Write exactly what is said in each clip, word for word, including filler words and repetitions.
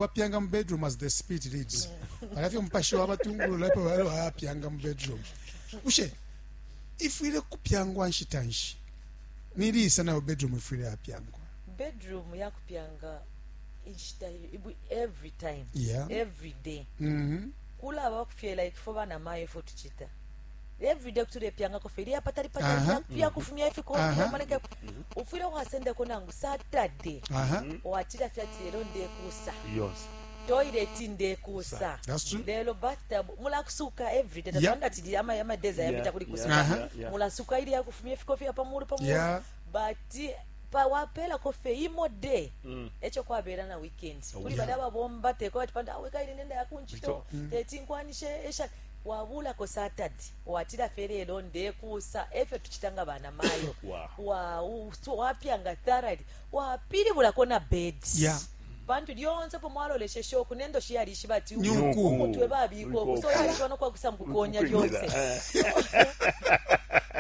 Bapyanga mu bedroom as the spirit leads. Balafye umupashi wabatungulula epo bale bapyanga mu bedroom. Bushe ifwile kupyangwa nshita nshi? Nilisa nayo bedroom ifwile yapyangwa? Bedroom yakupyanga inshita every time. Yeah. Every day. Mhm. Kulaba kufye like fo bana mayo fo tuchita. Every day kutulepyangako fye ilya patali patali Aha. yakufumya ifikofi Aha. yamaleka ufwile wasendako nangu Saturday. Aha. Watila fye ati lelo ndekusa. Yonse. Toilet ndekusa. That's true. Lelo bathtub mulakusuka every day. Yeah. Tatwanda ati ama ama days ayapita Yeah, kuli yeah, kusuka. Aha. yeah, yeah. Mulasuka ili yakufumya ifikofi ya pamulu pamulu. Yeah. But pa wapela kofe imo day. Echo kwabera na weekend. Kuli Yeah. bada babomba teko ati panda aweka ili nenda yakunchito. Teti nkwanishe esha wabula ko Saturday. Watila fere lelo ndekusa efyo tuchitanga bana mayo. Wow. Wa u- so wapyanga thoroughly. Wapilibulako na bed. Yeah. Pantu lyonse po mwaloleshe shoku nendo shiyalishiba ati Nyuku. umutwe babiko so yalishiba nokwakusa mukukonya lyonse.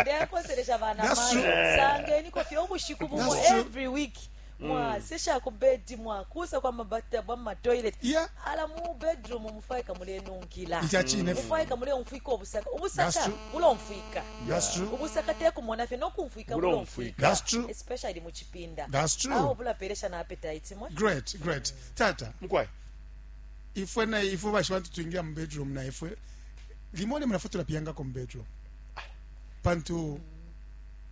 Ndekoselesha bana That's mayo true. sangeni kofye ubushiku bumo That's true. every week mwasesha ku bed mwakusa kwa mabathtub ama toilet. Yeah. Ala mu bedroom mufaika mulenunkila. Ichachine. Mufaika muleumfwika obusaka. That's Ubusaka true. bulomfwika. That's true. Ubusaka tekumona fye nokumfwika Bulomfwika. bulomfwika. That's true. Especially mu chipinda. That's true. Awo bulapelesha na appetite mwe. Great, great. Tata, Mkwai. ifwe na ifwe bashi bantu twingira mu bedroom na ifwe limone munafe tulapyangako mu bedroom. Pantu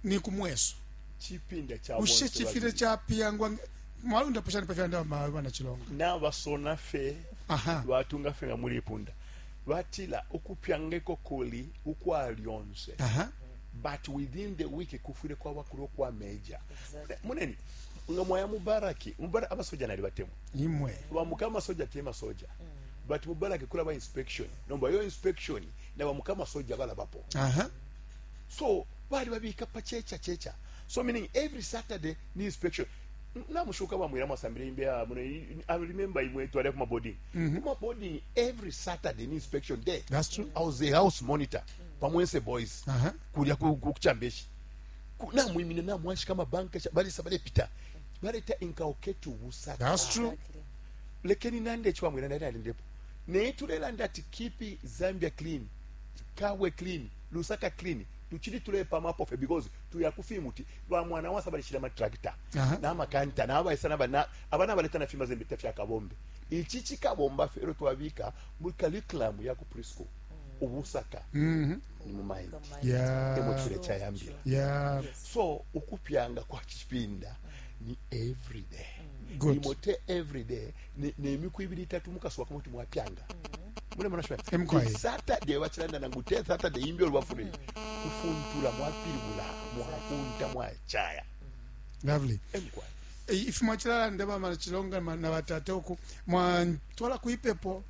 ni kumweso. Chipinda cha Bushe bonse chifile babili. chapyangwa mwalunda pushani pafyanda bana chilonga. N'abasona ffe Aha. batunga ffe nga muli punda batila ukupyangeko kuli ukwalyonse. Aha. But within the week kufwile kwaba kuli okwa major. Muneni nga mwaya mubaraki mubara abasoja nali batemu Imwe. bamuka amasoja te masoja, but mubaraki kulaba inspection nomba yo inspection na bamuka amasoja balabapo. Aha. So bali babika pa checha checha, so meaning every Saturday ni inspection. Namushuka bamwira mwasambire imbe ya muno. I remember imwe twali kuma boarding kuma boarding every Saturday ni inspection day. That's true. I was a house monitor pamwense boys. Aha. Kulya ku- ku- kuchambeshi namwimine namwashika mabanka balisa balepita baleta inkaoketu busaka. That's true. Lekeni nande chwamwira ndali alindepo naye tulelanda ati keep Zambia clean, Kabwe clean, Lusaka clean. Tuchili tulepamapo fe because tuyakufimuti lwa mwana wasa balishila matractor Aha. n'amakanta n'abaisa n'abana abana baleta na fima zembe tafya kabombe ichi chikabomba fe ero twabika mu curriculum ya ku preschool ubusaka Mhm. ni mu mind. Yeah. Emo chile chayambira. Yeah. So ukupyanga kwa chipinda ni every day. Good. Imote every day ni nemiku ibiri itatu mukasuba kumuti mwapyanga mune mwana shwa. Emkwaye. Saturday bachilanda nangu te Saturday imbi olwafune kufuntula mwapilibula mwakunta mwachaya. Lovely. Emkwaye. Eh, ife mwachilala ndeba machilonga na batate oku mwatwala kuipepo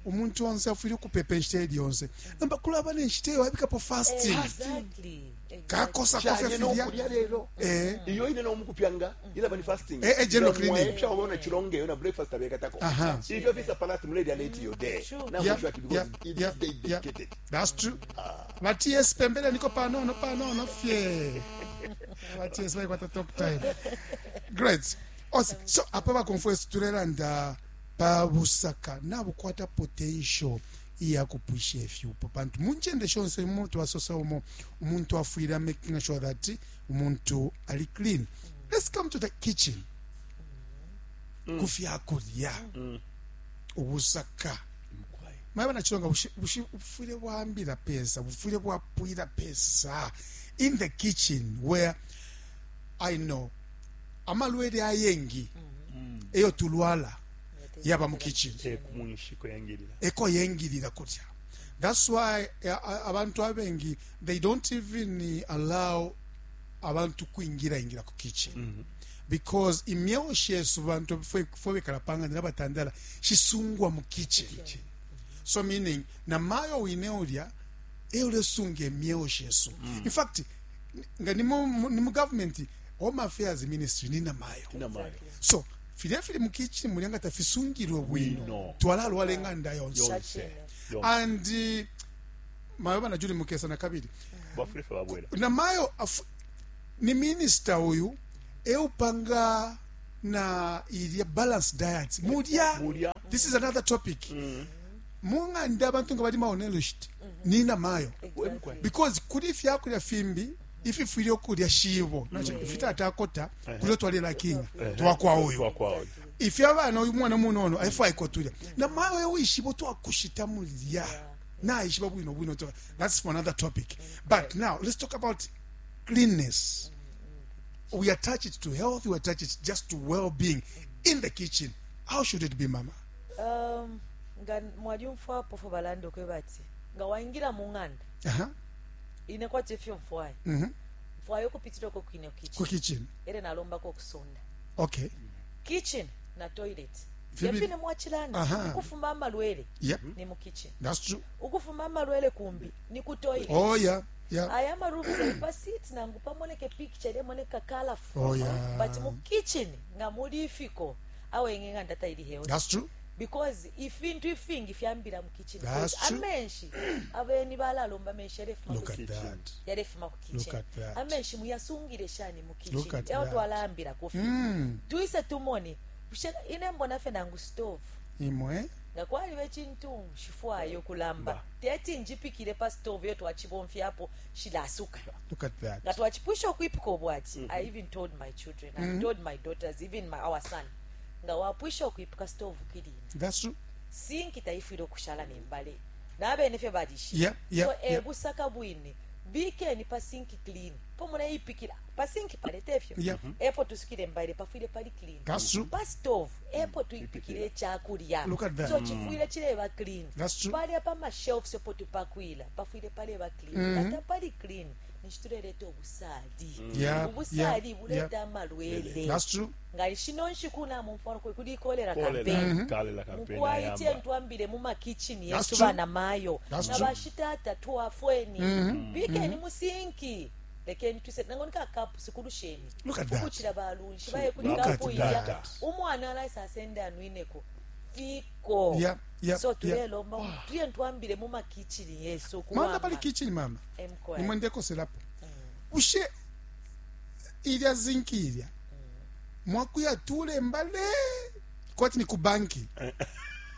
umuntu onse afwile ukupepa enshita eli yonse namba kulaba nenshita eyo wabikapo fasting. Exactly. Exactly. Kakosa kofe Chanye filya nokulya lero eh iyo ine nomukupyanga ilaba ni fasting. Eh, eh, general cleaning. Mwaepya wabona chilonge yo na breakfast abekatako. Aha. Ifyo fisa palati muledi aleti yo day True. na Yeah, mwisho because yeah, it's yeah, day yeah. dedicated. That's true. Ba T S pembele niko panono panono fye. Ba T S baikwata talk time. Great. Ose, so apa bakonfwesi tulelanda pa busaka nabukwata potential iyakupwisha ifyupo pantu munchende shonse umuntu wasosa umo umuntu afwile making sure that umuntu ali clean. Let's come to the kitchen. Kufyakulya ubusaka mwaba nachilonga bufwile bwambila pesa bufwile bwapwila pesa in the kitchen where I know amalwele ayengi eyo tulwala yaba mu kitchen. Eh, kumunshiko yangilila. Eko yengilila kutya. That's why eh, abantu abengi they don't even allow abantu kwingira ingira ku kitchen mm -hmm. because imyeo shesu bantu fwe bekala panga nabatandala shisungwa mu kitchen. So meaning na mayo wine ulya eulesunga emyeo shesu mm. In fact nga ni mu ni mu government Home Affairs Ministry ni namayo. Namayo. So filya fili mu kitchen mulyanga tafisungirwe bwino Bwino. twalalwala enganda yonse. Yonse yonse. And uh, mayo bana juli mukesa na kabili bafule fe babwela namayo afu, ni minister uyu eupanga Na ilya balanced diet mulya. Mulya. This is another topic. Mung'anda abantu nga bali malnourished nina mayo, Exactly. because kuli ifyakulya fimbi ififwile okulya shibo ifitatakota kulyo twalelakinga twakwa uyu Twakwa. Ifyo abana, uyu mwana munono aifwaika tulya na mawe wishibo twakushita mulya naishiba bwino bwino. to- that's for another topic, but now let's talk about cleanness. We attach it to health, we attach it just to well-being in the kitchen. How should it be, mama? Um, nga mwalyumfwapo fo balanda okwe bati nga waingira mu ng'anda, uh-huh. ine kwati efyo nfwayo, mm-hmm. nfwayo okupitirako kwine Ku kitchen, kitchen, ere nalombako okusonda okay kitchen na toilet. Fibili. Yefine mwachilanda, Aha. ukufuma amalwele yep ni mu kitchen, That's true. ukufuma amalwele kumbi ni ku toilet. Oh yeah yeah Aya marooms ali pa seat nangu pamoneke picture lemoneka colorful, Oh, yeah. but mu kitchen nga muli ifiko awenge ng'anda taili healthy, That's true. because ifintu ifingi fyambira mu kitchen. That's Because true. amenshi abeni balalomba amenshi yarefuma Look ku at that. yarefuma ku Look kitchen. at that. Amenshi muyasungire shani mu Look kitchen at eyo that. twalambira kufi mm. tuise tumone. Bushe ine mbona fe nangu stove, Imwe nga kwaliba ekintu shifwayo kulamba teti njipikire pa stove yo twachibomfyapo shilasuka. Look at that. Nga twachipwisha okwipika obwati, I even told my children, mm -hmm. I told my daughters, even my, our son, nga wapwisha okwipika stove kilina, That's true. Sinki taifwire okushala nembale nabene fye balishe. Yeah, yeah, so yeah. Ebusaka bwine bikeni pa sinki clean po muneipikira pa sinki palete efyo, Yeah. epo tusukire embale pafwire pali clean. That's true. Pa stove epo tuipikire ekyakulya, Look at that. so chifwire chileba clean. That's true. Palya pa mashelves epo tupakwila pafwire paleba clean. Ata pali clean nichituleleta obusali. Yeah, Obusali yeah, buleta yeah. amalwele. That's true. Nga shino nshiku namumfano kuli cholera Cholera, campaign. cholera campaign Mukwayite ayamba. ntwambire mu makichini That's yesu true. bana mayo That's na true. bashitata tuwafweni bikeni musinki lekeni twise nango nikakapu sikulusheni Look at that. ukuchila balunshi baye kuli Look at kapu iya that. umwana alaisa asende anwineko fiko. Yeah, yeah, So yeah. tulelomba tuye ntwambire mu makichini yesu. Manda pali kitchen, mama, Emkwaya. nimwe ndekoselapo ushe ilya zinki ilya mwakuya tule mbale kwati ni kubanki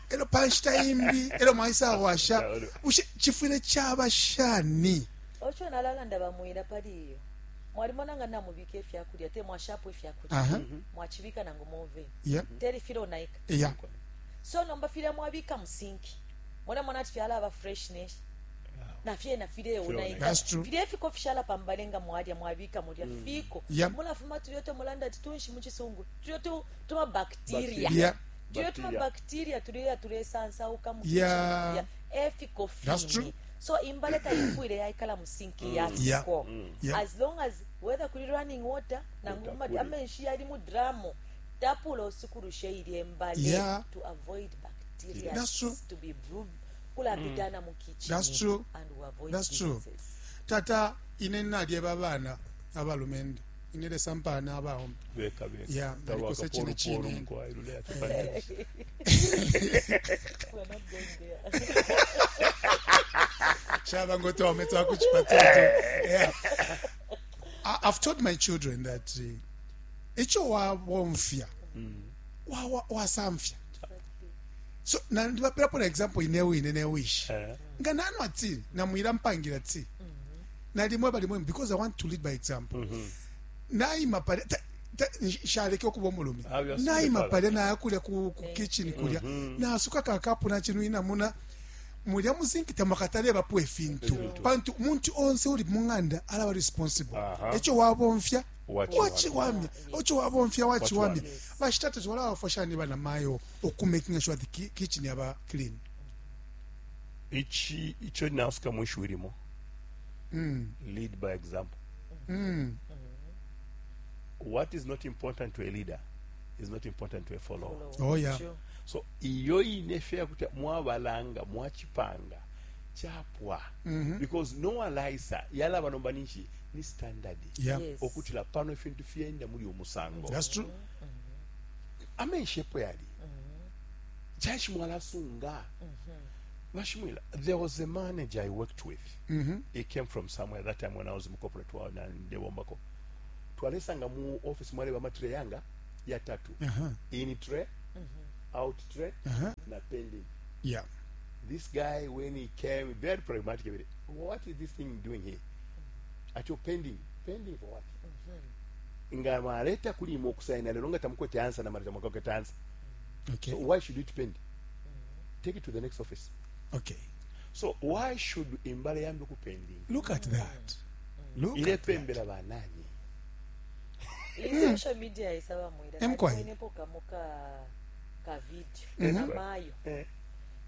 elo panshita imbi elo mwaisa washa ushe chifwile chaba shani? Ocho nalalanda bamwira pali iyo mwalimona nga namubika efyakulya te mwashapo efyakulya, Aha. mwachibika nangu move yeah teri filonaika. Yeah so nomba filya mwabika musinki mwona mwana ati fyalaba freshness nafyena fileonaika. That's true. Filya ifiko fishala pambale nga mwalya mwabika mulya fiko, Yeah. mulafuma tulyo tomulanda ati tunshi muchisungu tulyo tu- tuma bacteria, Yeah. tulyo tuma Bacteria. bacteria tuleya tulesansauka mu Yeah. kitchen efiko That's true. fini. So imbale taifwile yaikala musinki Yeah. yafiko, Yeah. as long as whether kuli running water nangu Water ma- kuli. amenshi yali mu dramu tapula osikulushe ili embale Yeah. to avoid bacteria That's true. to be brewed kulapitana mu kitchen That's true. and we avoid That's true. diseases. Tata, ine nalyeba abaana abalumendo ine lesampaana abawoma. Beka beka. Yeah, ndalikose chine chine. We're not going there. Shaba ngotome twakuchipatete. Yeah. I- I've told my children that uh, icho wabomfya wa- wasamfya, so na ndibaperapo na example inewe ine newishi nga nanwa tea namwira mpangira tea nalimwe balimwe because I want to lead by example. Naima pale ta- ta- nshaleke okuba omulume. Ah, byasukile Naima pala. pale nayakulya ku, ku kitchen kulya nasuka kakapu nachinwina muna mulya muzinki tamakatale bapo efintu pantu muntu onse uli mung'anda alaba responsible. Aha. Ekyo wabomfya Wachiwamya. wachiwamya, ekyo wabomfya wachiwamya. Wachiwamya. Bashitata twala bafashani bana mayo okumakinga sure the ki- kitchen yaba clean. Ichi icho nasuka mwishu ilimo lead by example. What is not important to a leader is not important to a follower. Oh, yeah. True. So iyo inefe yakuti mwabalanga mwachipanga chapwa because no alaisa yalaba nomba ninshi ni standard Yeah. Yes. okutila pano ifintu fyenda muli omusango. That's true. Amenshi epo yali chashi mwalasunga bashimwila. There was a manager I worked with. He came from somewhere that time when I was mu corporate world na ndebombako twalesanga mu office mwaleba amatire yanga Yatatu. Uh-huh. In tray, out tray, Uh-huh. na pending. Yeah. This guy, when he came, very pragmatic. About it. What is this thing doing here? At your pending. Pending for what? Nga mwaleta kuli imwe okusaina lero nga tamukwete answer na maleta mwakwete answer. Okay. So why should it pend? Take it to the next office. Okay. So why should imbale yambi kupending? Look at that. Look at that. Ilepembera banani. Iyi social media isaba mwira Emkwayi. Nalibonepo kamo ka ka video namayo Eh.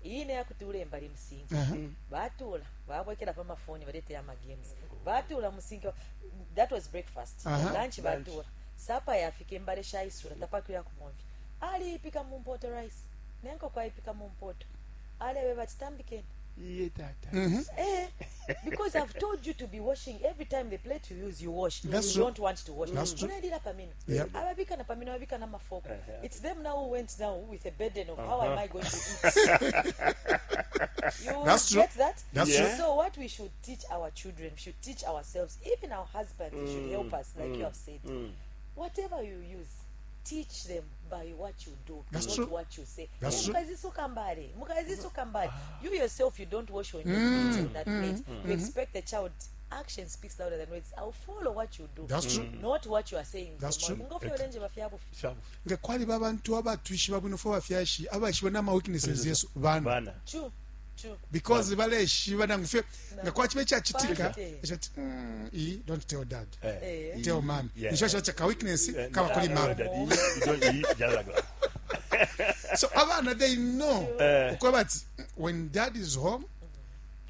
iyi neyakuti ulemba limusinga Uh-huh. batula babwekela pamafoni baletera amagames batula musinga that was breakfast Aha. lunch batula sapa yafika embale shaisula tapakwira kumomvi aliipika mumpoto rice nenkoko aipika mumpoto alebe bati tambikeni Iye tata. Eh, because I've told you to be washing every time the plate you use, you wash. That's you true. don't want to wash. That's true. Unaendela pamino. Yep. Ababika na pamino, ababika na mafoko. Uh-huh. It's them now who went now with a burden of how am I going to eat. You That's true. get that? That's Yeah. true. So what we should teach our children, we should teach ourselves, even our husbands should help us, like you have said. Whatever you use, teach them by what you do, That's not true. what you say. That's true. Mukazisuka mbali, mukazisuka mbali. You yourself, you don't wash when you're eating that plate. You expect the child. Action speaks louder than words. I'll follow what you do. That's true. Not what you are saying. That's true. Ngofi olenje bafyabufi. Shabu. Nga kwaliba abantu abatwishiba bwino fo bafyashi abaishiba n'ama weaknesses yesu bana Bana. True. True. because baleshiba nangu fye nga kwachiba echachitika Bana. echati mm, iyi don't tell dad Eh. Eh. tell mom Yeah. nisho chacha ka weakness Eh, kaba kuli no, mom daddy, you don't eat, just like that. so abana they know Eh. ukuba bati when dad is home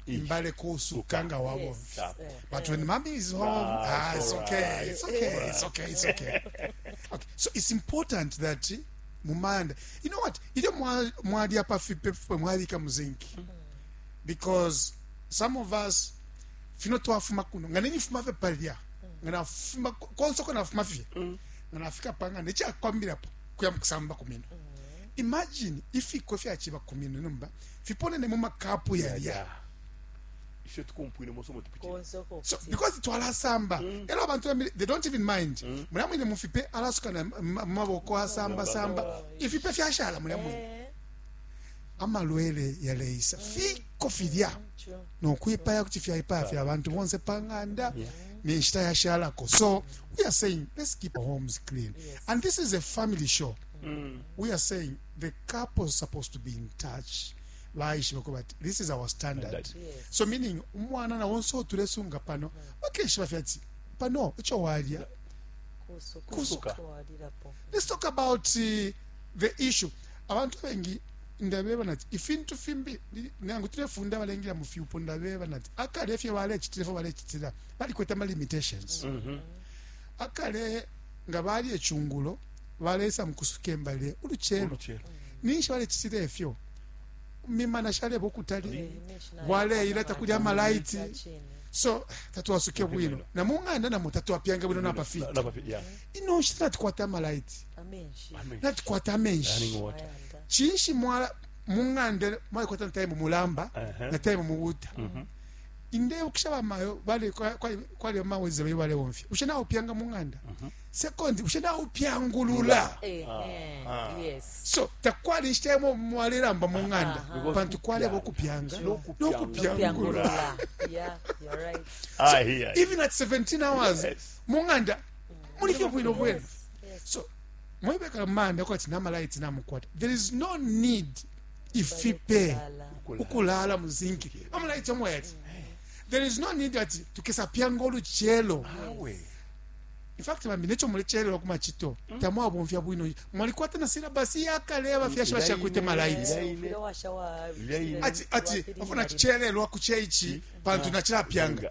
Ish. mbale kusuka nga Yes. wabomfi Eh. But when mommy is home, ah, Ah, it's it's okay, it's okay, it's okay, it's okay. Okay, so it's important that mumanda. You know what? Ile mwa mwali apa fipe fipe mwalika muzinki. Because some of us fino twafuma kuno nga nenifuma fe palya nga nafuma konsoko nafuma fye nga nafika panga nechakwambirapo kuya mukusamba kumino. Imagine ifikwe fyachiba kumino numba fiponene mu makapu yalya. Yeah. Ifyo tukumpwine moso mutupitira. Konsoko. So because twalasamba era abantu bambi they don't even mind mulya mwine mufipe alasuka na m- mumaboko asamba samba ifipe fyashala mulya mwine Eh, amalwele yaleisa fiko filya true. nokwipaya kuti fyaipaya fya abantu bonse panganda nenshita yashalako so we are saying let's keep our homes clean Yes. and this is a family show we are saying the couple is supposed to be in touch baishiba ko bati this is our standard Standard. Yes. so meaning umwana na wonse otulesunga pano bakeshiba fyati pano icho walya Kusuka. Kusuka. Kuwalirapo. let's talk about uh, the issue abantu abengi ndabeba nati ifintu fimbi ni- nangu tulefunda abalengela mu fyupo ndabeba nati akale efyo balechitila efyo balechitila balikwete ama limitations akale nga bali echungulo balesa mukusuka embale uluchelo Oluchelo. ninshi balechitila efyo mimana shaleba okutali Eh, menshi Waleileta kulya amalaiti. Chini. So tatwasuke bwino na mung'anda namo tatwapyange bwino napafiti Na- na- yeah. ino nshita natukwata amalaiti Amenshi. natukwata amenshi Running water. Ayanda. chinshi mwala mung'ande mwalikwata na time mulamba Uh-huh. na time mubuta inde kusha bamayo bali kwali mawezi bayo bale bomfya ushe nawo pyanga mung'anda second ushe nawo pyangulula Eh, eh, yes. So takwali nshita yamo mwaliramba mung'anda Because pantu kwaleba okupyanga Nokupyangula. nokupyangulula Pyangulula. Yeah, you're right. Ah, here. Even at seventeen hours Yes. mung'anda mulifye bwino bwino. Yes. Yes. So mwebeka manda kwati namalaiti namukwata there is no need ifipe Kulala. ukulala muzinki amalaiti omwete there is no need ati tukesapyanga oluchelo. Awe. In fact bambi necho mulechelelwa kumachito tamwabomfya bwino mwalikwata na silabasi yakale abafyashi bashakwite malaiti. Ilaine. Ufile washawa- Ilaine. Ati ati wapili afuna nali- chichelelwa kucheichi pantu nachilapyanga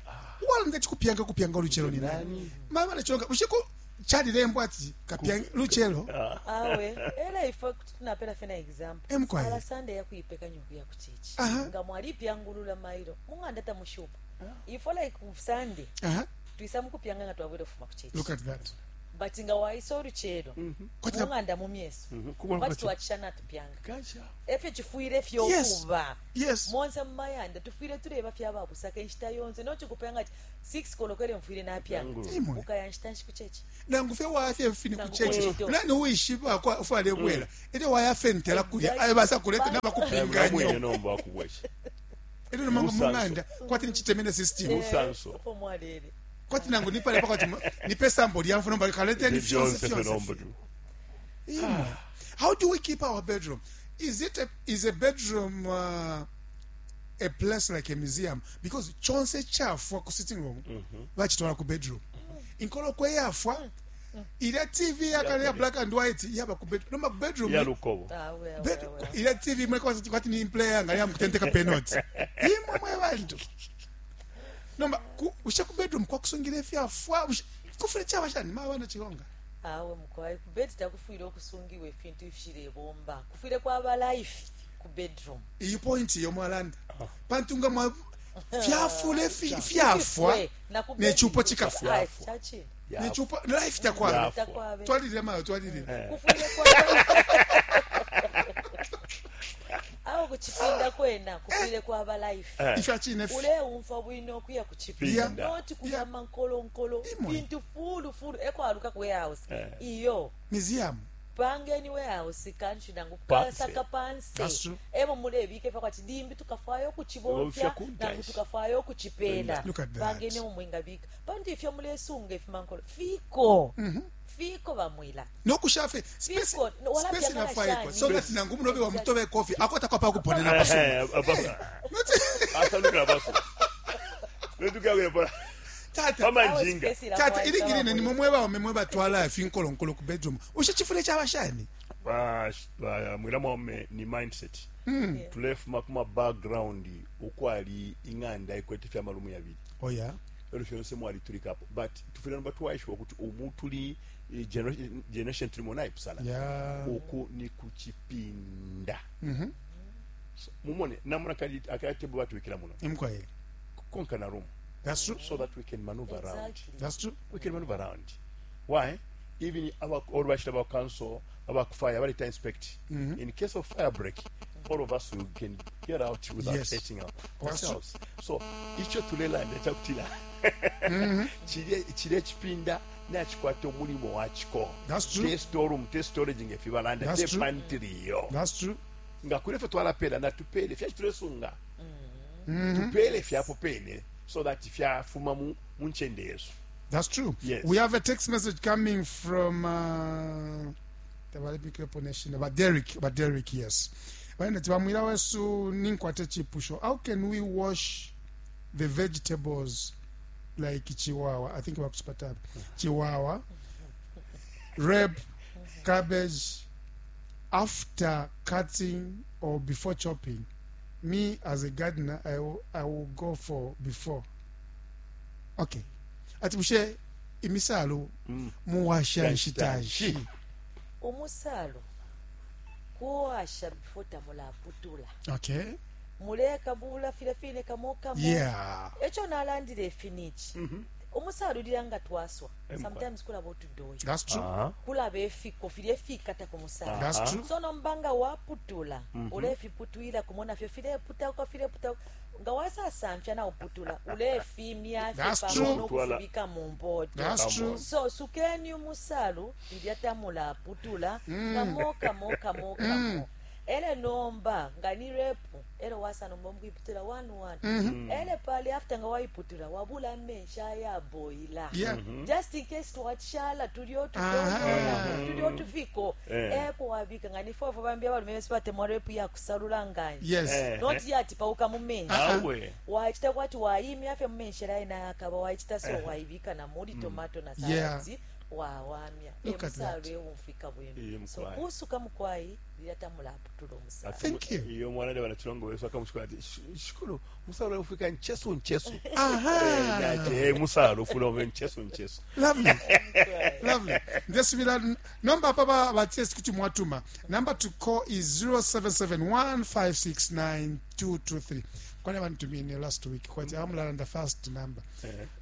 walonda chikupyanga kupyanga oluchelo ni nani mama nechonga ushiko chalilembwa ati kapyanga luchelo. Awe era ifo tunapera fena example Emkwaye. ala Sunday yakuipeka nyuku ya kuchichi Aha. nga mwalipyangulula mailo mung'anda tamushupa ifo like ku Sunday Aha, twisa mukupyanga nga twabwere fuma kuchichi look at that. But nga waisa oluchero Kwati na- mung'anda mu myeso Kubona kwati kwati- twakishana tupyanga Kasha. efyo chifwire fyokuba Yes. monse mumayanda tufwire tureba fyababusaka enshita yonse nochikupyanga ati six kolokere mfwire napyanga Imwe. ukaya nshita nshi kuchechi Nangu fye wafye fini Nangu kuchechi kuchito. nani uishiba kwa ufale bwela ilyo wayafentela kulya Exactly. ayo basa kuleta Namwene nabakupinganyo nomba wakubwesha. ilyo nomanga Busanso. mung'anda kwati nichitemene system Busanso. opo mwalele kwati nangu nipale pakati nipe sambo lyamfu nomba kaleteni fyonse Fyonse fyonse nomba tu. Imwe. How do we keep our bedroom? Is it a, is a bedroom uh, a place like a museum? Because chonse chafwa ku sitting room vachitwala ku bedroom. Inkolokwe yafwa ilya T V yakale ya black and white yaba ku bedroom. Noma ku bedroom. Ya lukobo. Ah, well, Bed, well, well. Ilya T V mwe kwati kwati ni player ngali yamukutenteka penalty. Imwe mwe bantu. Nomba ku ushe ku bedroom kwa kusungira ifyafwa ushe- kufire chaba shani mabana chilonga. Awe mukwai, ku bed takufwire okusungiwa ebintu ifishilebomba, kufwire kwaba life ku bedroom. Iyi point yomwalanda pantu nga mwa fyafule fi- fyafwa Ifwe, na ku nechupo bedroom- chikafwa. Ai, chachini. Ya. Nechupo life takwaba. Yafwa. Takwabe. Twalilira mayo, twalilira. Kufwire kwaba awo kuchipinda kwena kufwire kwaba life. Eh. Ifyachine fi- Uleumfa bwino okuya kuchipinda, Yeah. noti kuyama nkolonkolo Imwe. bintu fulu fulu ekwaluka ku warehouse Eh. iyo. Museum. Pangeni warehouse kanshi nangu Panse. kasaka panse. That's true. Emo mulebika ifa kwati limbi tukafayo okuchibomfya Bomfya kuntanshi. nangu tukafayo okuchipela. Look at that. Pangeni emo mwingabika pantu ifyo mulesunga ifimankolo fiko fiko bamwila. Nokushafe space. Fiko, no, wala Space pyangana inafaikwa shani. so that nangu munobe wa mutobe coffee akwata kwa pakuponena Eh, pasuma. eh, Not Asanukira basu. Netukagwira pola. Tata. Mama Awo njinga. space ilafaika Tata, iligirine bamwila. ni mumwe baume mwe batwala ifinkolonkolo ku bedroom, ushe chifule chabashani? Ba- ba- mwira mwaume ni mindset. Tulefuma kuma background ukwali ing'anda ikwete fyamalumu yabiri. Oh yeah. Elo fyonse mwaliturikapo, but tufire nomba twaishiwa kuti umu tuli eh, generation generation tulimo naipusana. Yeah. Uku ni kuchipinda. So, mumone namuna kali akatebo batuwikira muno Imkwaye. konka na room That's true. so that we can maneuver around. Exactly. That's true. We can maneuver around. Why? Even our all bashira ba council aba fire balita inspect in case of fire break, all of us we can get out without Yes. hurting our- That's true. ourselves. So icho tulelanda chakutila chile chile chipinda nachikwata omulimo wakiko. That's true. Te storeroom, te storage ngefibalanda That's te true. pantry yo That's true. nga kuli ffe twalapela natupele fyachitulesunga tupele fyapo pene so that fyafuma mu mu nchende yesu. That's true. Yes. We have a text message coming from uh, about Derek, about Derek, yes. Baina bamwira wesu ninkwate chipusho. How can we wash the vegetables like chiwawa? I think bakusipata. Chiwawa, rape, cabbage after cutting or before chopping? Me as a gardener, I will, I will go for before. Okay. Ati bushe imisalo muwasha nshitashi? Umusalo kuwasha before tamulaputula. Okay. Muleka bula file fine kamo kamo. Yeah. Echo nalandile efinichi umusalo ulira nga twaswa, sometimes kulaba otudoyi. That's true. Kulaba efiko fili efikata ku musalo. That's true. So nomba nga waputula ulefiputwila kumo nafyo fileputauka fileputauka nga wasasamfya nauputula ulefimya That's fye true. pamo nokufibika mu mpoto. That's true. So sukeni umusalu lilya tamulaputula kamo kamo kamo kamo ele nomba nga ni repu ele wasa nomba mukuiputula one one ele pali after nga waiputula wabula amenshi ayaboila Yeah. just in case twachala tulio Aha. tudola tulio tufiko. Eh. Epo wabika nga nifofo bambi abalume besi batemwa repu yakusalula nganje. Yes. Eh. Not yati pauka mu menshi. Awe. Wachita kwati waimya fye mumenshi ela inayakaba wachita so waibika na muli tomato na Yeah. saladi wawamya. Look at Emusalu that. ewumfika Iye, bwino so mukwayi. kusuka mukwayi lyatamulaputula omusalu. Thank you. Iyo mwana de banachilongo wesu akamushikula ati shikulu musalo ufika nchesu nchesu. Aha. Ati hey musalo ufula uve nchesu nchesu. Lovely. Lovely. Ndesibila number papa batest kuti mwatuma. Number to call is zero seven seven one five six nine two two three. Kwani bantumine last week kwati amulanda first number.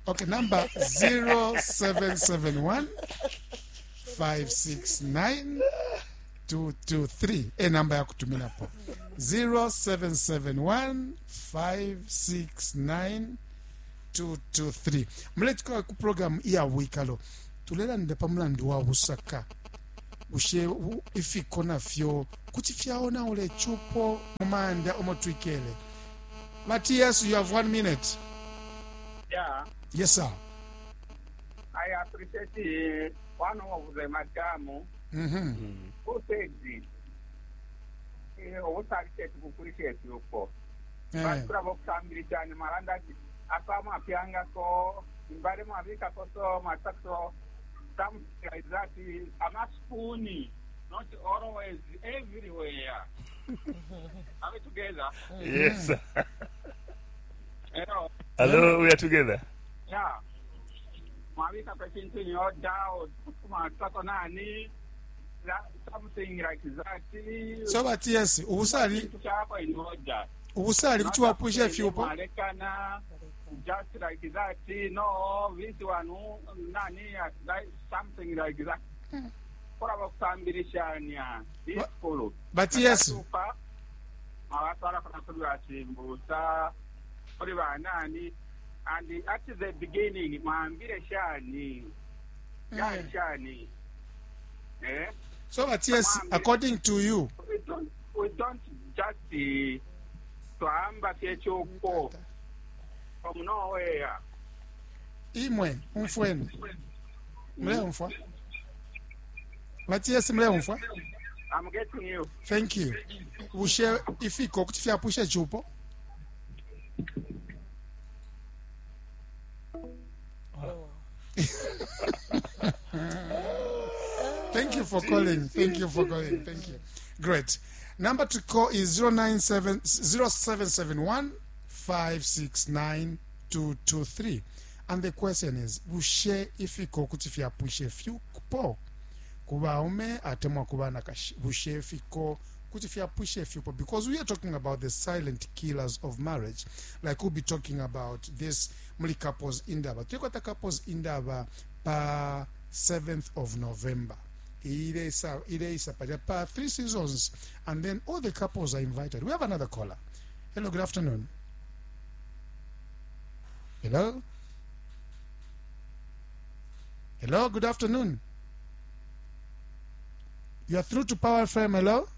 Okay, number zero seven seven one five six nine two two three e namba ya kutuminapo zero seven seven one five six nine two two three. Muletuka ku program iya bwikalo tulelanda pa mulandu wa busaka bushe ifiko nafyo kuti fyaonaula icupo mu manda omo twikele. Matthias, you have one minute. Yeah. Yes, sir. I appreciate one of the madam mm-hmm. who said obusakishe uko bakura bokusambirishanya maranda apa mwapyangako imbale mwabikako so mwasako something like that amaspuni not always everywhere. Are we together? Yes. Hello. Hello, we are together. Yeah. Mwabika pechintu nyoda mwasako nani something like that. So Matthias, ubusali ubusali kuti wapwisha fyupo malekana just like that. No, this one nani like something like that. Kora bakusambirishanya iskolo. Matthias, abatwala kuna chimbusa kuri banani and at the beginning mwambire shani mm. shani eh. So Matthias, according to you, we don't, we don't just twamba fyechuko from nowhere. Imwe umfweni mle umfwa Matthias, mle umfwa. I'm getting you. Thank you. Ushe ifiko kuti fyapusha chupo. Oh. Thank you for calling. Thank you for calling. Thank you. Great. Number to call is zero nine seven zero seven seven one five six nine two two three. And the question is, bushe ifiko kuti fyapushe fyupo kubaume atemwa kubana kashi bushe ifiko kuti fyapushe fyupo, because we are talking about the silent killers of marriage. Like we'll be talking about this muli couples indaba. Tulikwata couples indaba pa seventh of November. Ile isa pa three seasons, and then all the couples are invited. We have another caller. Hello, good afternoon. Hello. Hello, good afternoon. You are through to Power F M. Hello.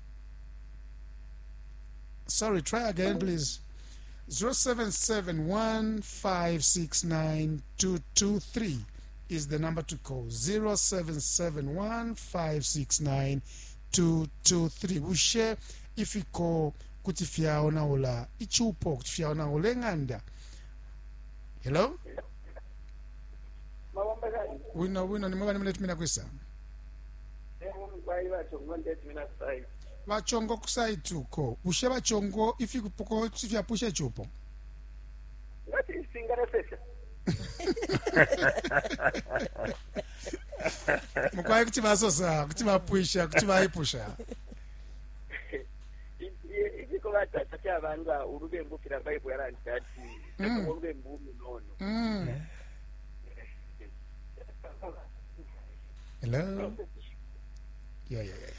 Sorry, try again, please. zero seven seven one five six nine two two three is the number to call. zero seven seven one five six nine two two three. We share if you call kuti fyaonaula ichupo kuti fyaonaula enganda. Hello? Wino wino ni mwabani mle tumina kwisa. Bachongo kusaituko. Ushe bachongo ifikupoko fyapusha chupo. Ngati singaresesha. Mukwaye kuti basosa, kuti bapwisha, kuti baipusha. Ifiko batata kyabanga ulubembu kila Bible yalandika ati ulubembu munono. Mm. Hello. Yeah, yeah, yeah.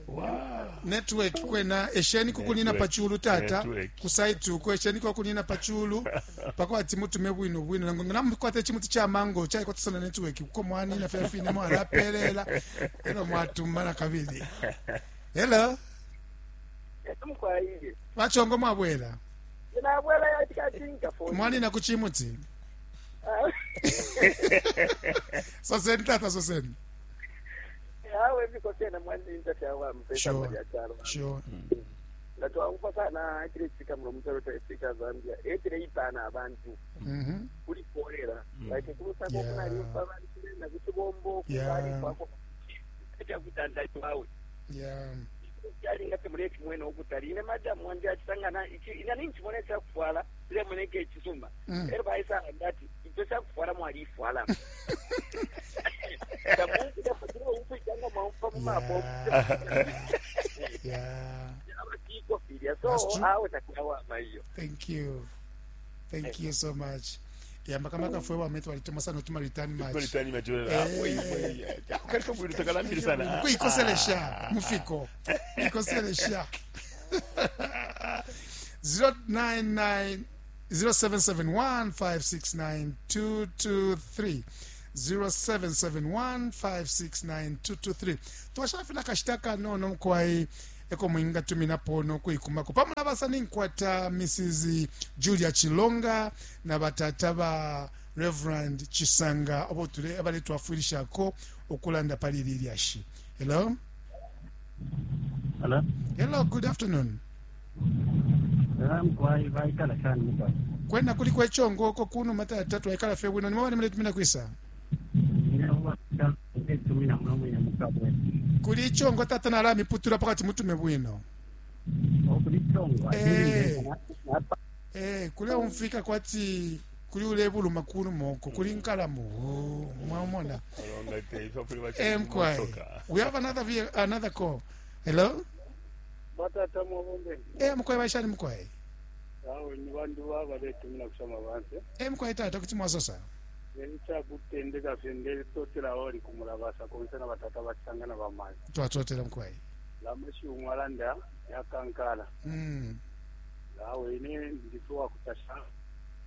Wow. Network kwena esheni kukunina pachulu tata kusaitu ko esheni kukunina pachulu pakwati mutume bwino bwino namukwate chimuti cha mango chai kwatsana network kuko mwani na fyafine mwala pelela ero mwatumana kabili. Hello. Yatumkwaiye bachongo mwabwela nabwela yatika phone mwani na kuchimuti soseni tata soseni. Awe viko tena mwanzinza kyawa mpesa mwa chalo. Sure. Ngatwa sana kile chika mlo mtaro ta Zambia etire ipana abantu. Mhm. Kuli kolera. Like kulusa ko kuna lipa abantu na kutibombo kubali kwako. Kya kutanda kwawe. Yeah. Yali ngati muleki mwene okutali ine madam wanje achisangana ichi ina ninchi mone cha kufwala ile muneke chisuma. Ero baisa ndati icho cha kufwala mwalifwala. Yeah. So, Thank you. Thank you so much. Yambakamaka fwe wame twalitemwa sana utuma return match. Return match. Ah, wei, wei. Kalifo bwino takalambiri sana. Kuikoselesha mufiko. Ikoselesha. zero nine nine zero seven seven one five six nine two two three zero seven seven one five six nine two two three. Twashafina kashita kanono mkwai eko mwinga tuminapo nokuikumako pamwe nabasa ninkwata Missus Julia Chilonga na batata ba Reverend Chisanga obo tule abale twafwilishako okulanda pali lilyashi. Hello? Hello? Hello, good afternoon. Mkwai vaikala shani mkwai. Kwenda kuli kwechongo oko kuno matata twaikala fye bwino nimwe bali tumina kwisa. Tumina mwe mukabwe. Kuli chongo tata nala miputura pakati mutume bwino. Kuli chongo. Eh. Eh, kule umfika kwati kuli ule buluma kuno moko kuli nkalamu. Oh, mwamona. Eh, mkwai. We have another another call. Hello? Batata mwabombe. Eh, mkwai baishani mkwai. Awe ni bandu baba letumina kusoma banse. Eh, mkwai tata kuti mwasosa. Nelicha kutendeka fyendele totela ori kumulabasa konse na batata bachangana bamayi. Twatotela mkwai. Lamashi umwalanda yakankala. Mm. Awe ne ndituwa kutasha.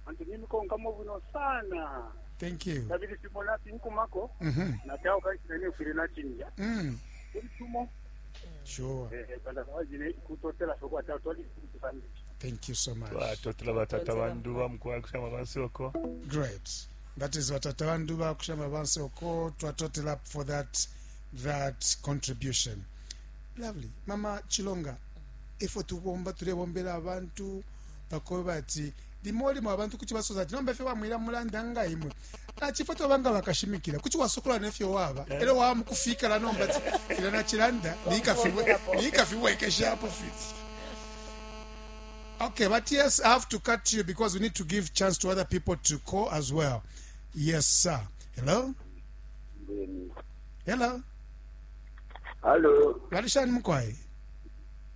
Antu nimikonka mubuno sana. Thank you. Kabili simona tinkumako. Mhm. Na tao kaisine kwirina chinja. Mm. Tumo. Sure. Eh, banda wajine kutotela sokwa tao twali kutufandisha. Thank you so much. Twatotela batata bandu bamkwai kushama bansoko. Great. That is batata bandu ba kushama bansoko. Twatotela for that that contribution. Lovely. Mama Chilonga, ifo tubomba tulebombela abantu bakoba ati limoli mu abantu kuchi basoza ati nomba fye bamwira mulanda nga imwe. Na chifo tobanga bakashimikira kuchi wasokola nefyo waba. Ero wa mukufika la nomba ati fila na chilanda nikafiwe nikafiwekesha hapo fit. Okay, but yes, I have to cut you because we need to give chance to other people to call as well. Yes, sir. Hello? Hello? Hello. Walishani mkwai?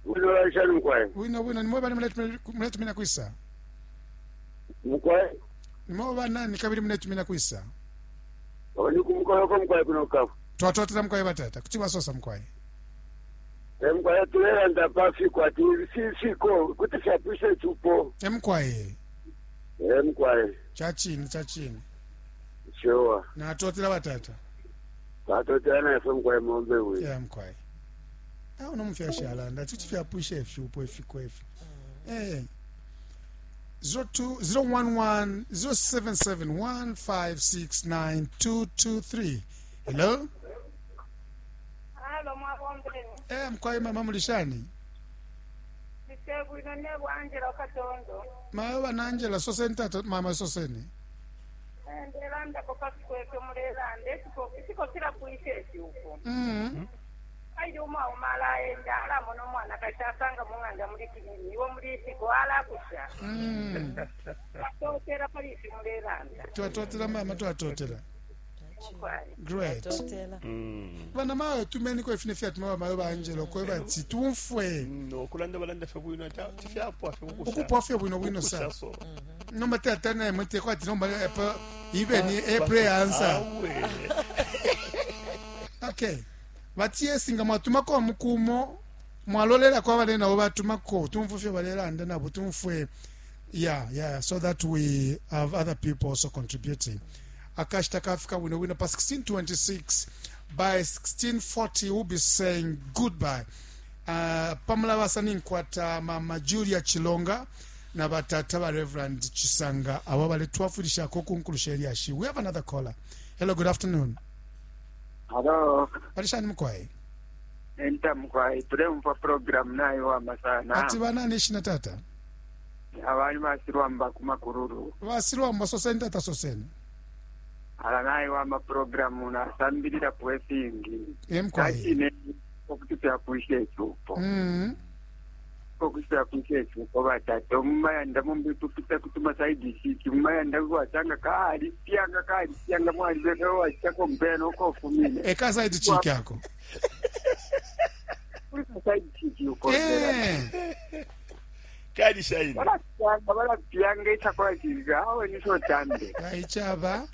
Wino walishani mkwai? Wino, wino. Ni mweba ni mletu mina kuisa? Mkwai? Ni mweba nani kabili mletu mina kuisa? Waniku mkwai wako mkwai kuna ukafu. Tuwatotela mkwai batata. Kuchiwa sosa mkwai. Mkwai tulera ndapafi kwa tisiko. Kutishapishe chupo. Mkwai. Mkwai. Chachini, chachini. Sure. Na atotela batata. Atotela na efe mkwai mombe we. Yeah, mkwai. Ah, unomfyasha alanda. Tuchifyapishe efi upo efi kwefi. Eh. zero two zero one one zero seven seven one five six nine two two three. Hello? Hello, mwabombe. Eh, mkwai mama mulishani. Bisegwino nebo Angela Katondo. Mawe na Angela soseni tata mama soseni. Ndelanda kokakweke mulelanda esiko isiko kila kuishe uko. Mm. Ayi uma umala enda ala mono mwana kachasanga munganda muri kinini iwo muri isiko ala kusha. Mm. Twatotela polisi mulelanda. Twatotela mama twatotela. Great. Twatotela. Mm. Bana mawe tumeni kwa ifine fiat mawe mawe ba Angelo kwa bati tumfwe. No kulanda balanda fye bwino ata tifyapo afye kukusha. Ukupo afye bwino bwino sa. Nomba tata na mwete kwa ati nomba epa ibe ni a prayer answer. Okay. Batiye singa mwatumako mukumo mwalolela kwa bale nabo batumako tumfufye balelanda nabo tumfwe. Yeah, yeah, so that we have other people also contributing. Akashita kafika wino wino pa sixteen twenty-six by sixteen forty we'll be saying goodbye. Uh, pamula basani nkwata mama Julia Chilonga na batata ba Reverend Chisanga abo bale twafulisha ko kunkulusha elyashi. We have another caller. Hello, good afternoon. Hello. Balishani mkwai? Enta mkwai tulempa program nayo wa masana. Ati bana nishina tata. Abali basirwamba kumakururu. Basirwamba soseni tata soseni. Ala nayo wa ma program na sambilira pwesingi. Mkwai. Kachine okutipya kuishe chupo. Mm. Okutipya kuishe chupo batata mumayanda mumbi tupita kutuma saidi siki mumayanda kwatanga kaali pyanga kaali pyanga mwali beko wachako mbeno kofumine. Eka saidi chiki yako. Saidi chiki uko. Eh. Kali shaini. Balapyanga balapyanga ichakula chiga awe nisotambe. Kaichaba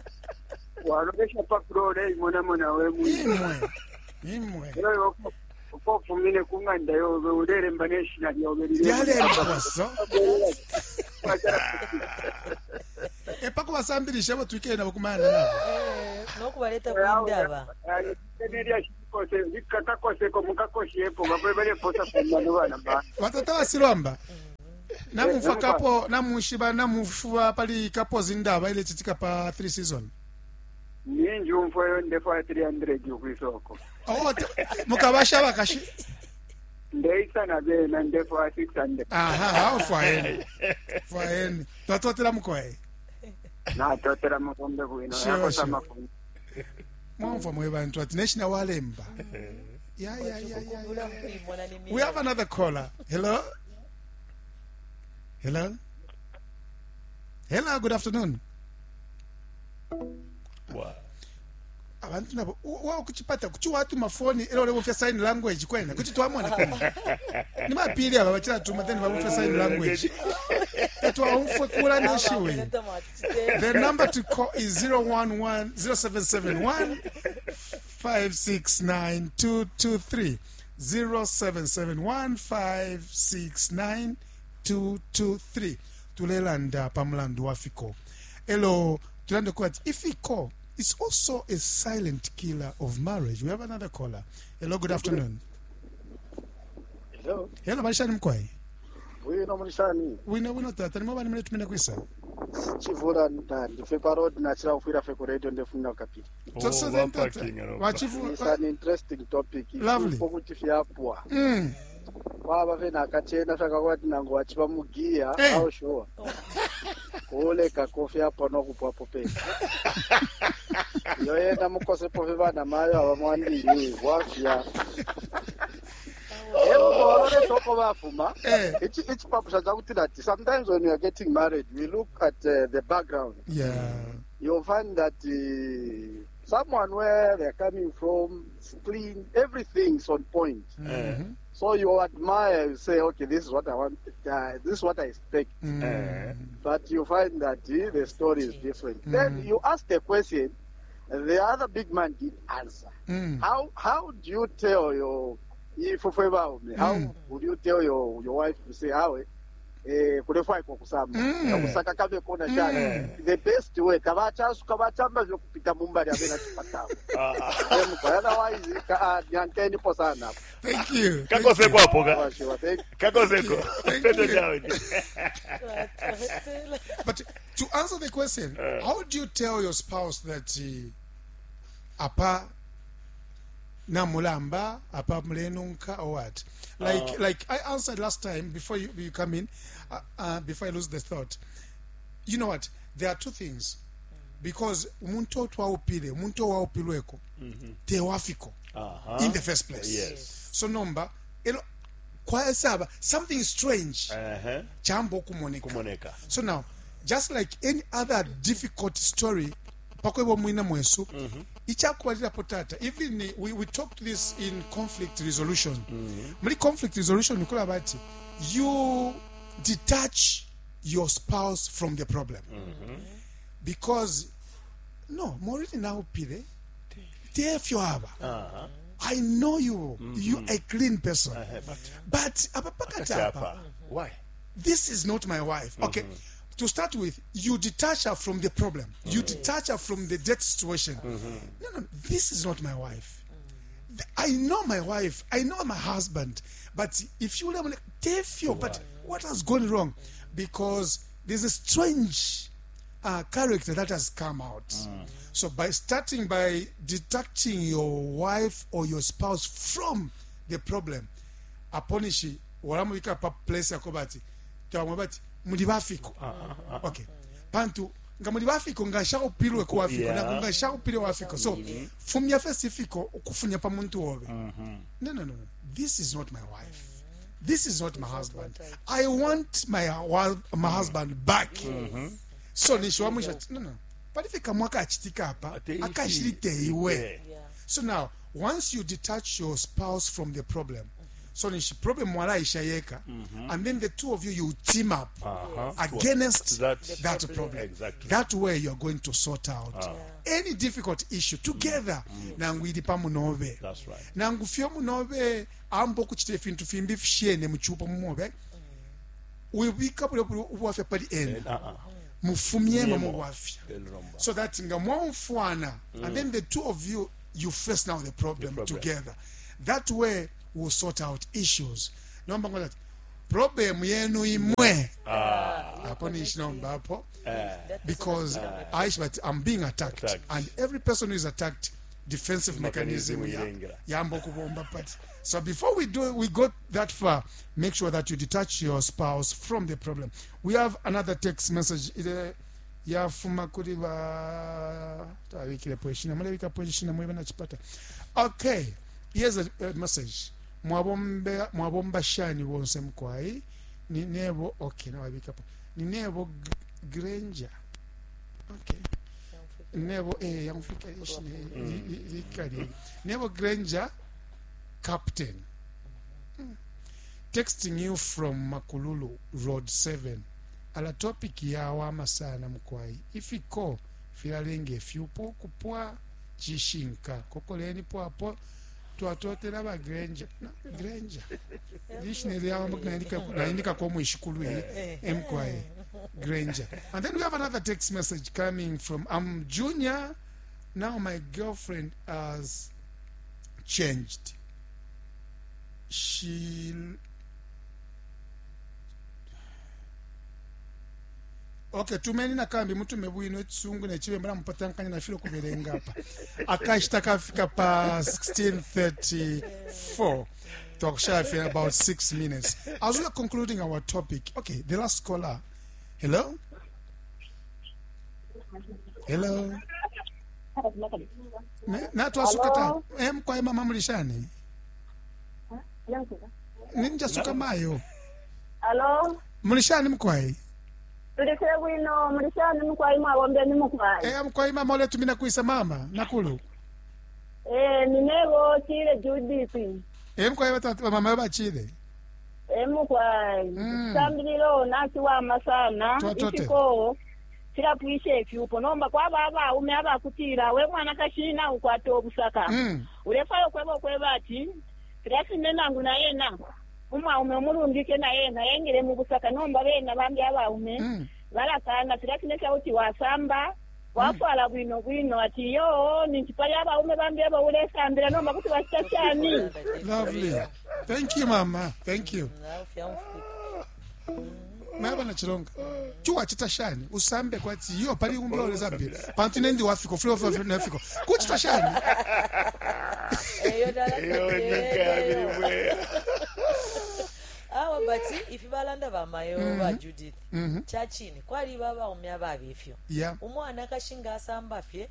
Walolesha pa flore imonamona we mwine. Imwe imwe. Lero ukofumine ku ng'anda yobe uleremba n'eshina lyobe Lyalemba so. Epako basambilisha abo twikele nabo kumana nabo. Eh, nokubaleta kwindaba. Kakoseko mukakoshepo babe baleposa kumano bana ba. Batata basilwamba. Namufa kapo namushiba namufuba pali kapo zindaba ile chitika pa three season. Ninji umfweyo ndefa three hundred ukwisoko. Oh, mukabasha bakashi. Ndeisa na bena ndefa six hundred. Aha, hao fwaeni. Fwaeni. Twatotela mukoe. Natotela mukombe bwino. Sure, Yakosa sure. mafumu. Mwamva mwe bantu ati neshina walemba. Yeah, yeah, yeah, yeah, Kumbula yeah. kuimona ni We have another caller. Hello? Hello? Hello, good afternoon. Wow. Abantu nabo wa kuchipata kuchi watu mafoni ero olebofya sign language kwena kuti twamona kwena ni mapili aba bachira tuma then babofya sign language etwa kula neshiwe. The number to call is zero one one zero seven seven one five six nine two two three zero seven seven one five six nine two two three. Tulelanda pamulandu wa fiko. Elo tulande kwati ifiko is also a silent killer of marriage. We have another caller. Hello, good afternoon. Hello. Hello, balishani mkwai. Wino mulishani. Wino wino tata ni mwabani mle tumene kwisa. Chivula ndife pa road nachira kufira fe ku radio ndefuna kapili. So, so then tata. Wachivu. It's an interesting topic. Lovely. Kuti fyapwa. Mm. Kwaba fe nakachena fyakakwati nango wachipa mugiya Eh. au sure. Kuleka kofyapwa nokupwapo pesa. Yoyenda mukosepo fe bana mayo abamwandini wafya. Ebo bafuma. Eh. Ichi ichipapusha chakuti that sometimes when you are getting married we look at uh, the background. Yeah. You'll find that uh, someone where they're coming from is clean, everything's on point. Mm-hmm. So you admire, you say, okay, this is what I want, uh, this is what I expect. Mm. But you find that uh, the story is different. Mm. Then you ask the question, the other big man did answer. Mm. How how do you tell your if how Mm. would you tell your your wife to say how eh kulefwa iko kusamba Mm. kusaka kabe kona chana the best way tabachasuka bachamba vyokupita mumbali abena chipatao otherwise ka nyanteni sana. Thank you. Kakoseko hapo ka. Sure, thank Kakoseko. Thank Settle you. down. But to answer the question, how do you tell your spouse that uh, apa namulamba apa mulenunka or what? Like Uh, like I answered last time before you, you come in, uh, uh, before I lose the thought. You know what? There are two things. Because umuntu otwaupile, umuntu owaupilweko, tewafiko Uh-huh. in the first place. Yes. So nomba elo kwasaba something strange Uh-huh. chambo kumoneka. Kumoneka. So now, just like any other difficult story, pakwebo mwina mwesu, ichakubalirapo tata, even we, we talked this in conflict resolution. Muri conflict resolution nikola bati, you detach your spouse from the problem. Because, no, moriri now pile, tefyo aba. Uh-huh. I know you, you a clean person. Uh-huh. But But apapakati apa, apa. Why? this is not my wife. Okay. To start with, you detach her from the problem. You detach her from the debt situation. No, no, this is not my wife. Th- I know my wife. I know my husband. But if you let me you, but what has gone wrong? Because there's a strange uh, character that has come out. So by starting by detaching your wife or your spouse from the problem, aponishi walamubika pa place yakobati tawamwe bati muli bafiko. Okay. Pantu nga muli bafiko nga shaupilwe ku wafiko Yeah. na nga shaupilwe wafiko. So fumya fesi fiko ukufunya pa muntu obe. No no no no. This is not my wife. This is not my husband. I want my wa- my husband back. So nishiwamwisha no no. Palifika mwaka achitika apa Ate ifi. akashirite iwe. Yeah. Yeah. So now, once you detach your spouse from the problem, So nishi problem mwalaisha yeka and then the two of you you team up Uh-huh. against That- that The problem. problem. Exactly. That way you are going to sort out any difficult issue together. Nangu ili pamunobe. That's right. Nangu fyo munobe ambo kuchita ifintu fimbi fishene muchupo mumobe. Wibika bule bule ubwafya pali ena. Uh-uh. Mufumyemo Mufumyemo. mubwafya. Elromba. So that nga mwamfwana and then the two of you you face now the problem, The problem. together. That way we'll sort out issues. Nomba ngola problem yenu imwe. Hapo ni nomba hapo That because I but I'm being attacked. Attacked. And every person who is attacked defensive mechanism Mechanism ya ilengera. yambo kubomba but so before we do we got that far make sure that you detach your spouse from the problem we have another text message ile yafuma kuli ba tabikilepo ishina mulebikapo ishina mwebe nachipata okay here's a, a message mwabombe mwabomba shani bonse mkwai ni nebo okay nawabikapo ni nebo G- Granger okay nebo eh yamfika ishina likali nebo Granger captain Mm. texting you from Makululu Road seven ala topic yawama sana mkwai ifiko filalenga efyupo kupwa chishinka kokoleni pwapo twatotela ba Granger na Granger lishine lyawamba naindika kwa mwishikulu mkwai Granger and then we have another text message coming from I'm Junior now my girlfriend has changed she okay tumeni nakambi mutume bwino echisungu nechibemba namupatankanya nafile kubelenga apa akashita kafika pa sixteen thirty-four twakushafika about six minutes as we are concluding our topic okay the last caller hello hello Ne- natwasuka ta mkwai mama mulishani ninjasuka mayo Alo, mulishani mkwai tulise bwino mulishani mukwai mwabombeni mukwai. Eh, mkwai mama oletumina kuisa mama nakulu Eh, ninebo chile Judith. Eh, mkwai batata mama bachile Eh, mukwai. Mm. Sambililo nachiwama sana. Twatote. Ifiko chilapwisha ifyupo nomba kwaba abaume abakutila we mwana kashina ukwata obusaka. Mm. Ulefayo kweba okweba ati filafine nangu nayena umwaume omulungike nayena yengile mu busaka nomba bena bambi abaume Mm. balakana filafine kyauti wasamba wafwala bwino bwino ati yo ninchipali abaume bambi abo ulesambila nomba kuti bachita chani lovely thank you mama thank you maba na chilonga chuwa chitashani usambe kwati iyo pali umba zambia pantu nendi wafiko flo flo nafiko kuchitashani eyo Eyo nyika yabiribwe. awa but ifi balanda bamayo ba Judith chachini kwali babaume ababifyo yeah umwana kashinga asamba fye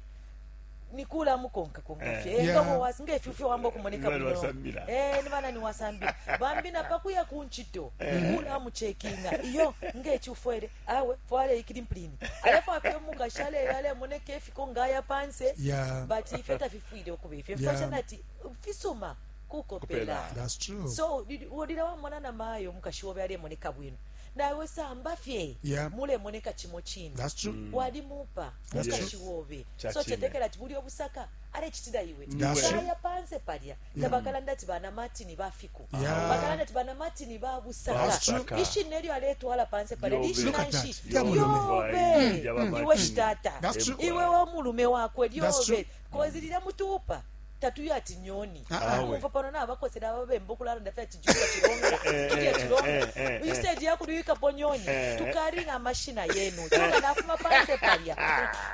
nikula mukonka konka fye Yeah. engamo wasi ngefyufyo wamba kumoneka Ni bana bwino wasambila. eh ni bana ni wasambila bambi na pakuya kunchito kula muchekinga iyo ngechufwele awe fwale ikilimpini alafu afye mukashale yale moneke fiko ngaya panse Yeah. but ife tafifwile okuba ife Yeah. mfasha ati fisuma kukopela Kupela. that's true so wodira wamona na mayo mukashiwobe alemoneka bwino nawe samba fye Yeah. mulemoneka chimo chino that's true walimupa That's true. mukashiwobe Cha so chine. chetekera ati buli obusaka alechitira iwe That's true. kaya panse palya tabakalanda ati bana martini bafiku Yeah. bakalanda ati bana martini babusaka That's true. ishina elyo aletwala panse palya Yobe. Look at lishinanshi that. Ya mulume. yobe Mm. Mm. iwe shitata That's true. iwe womulume wakwe That's lyobe true. kozi lila mutupa tatuyo ati nyoni Ah, ah. umva pano nabakosera ababemba okulala ndafe ati julia chilonga julia chilonga instead yakuluyikapo nyoni tukalinga amashina yenu chilonga nafuma panse palya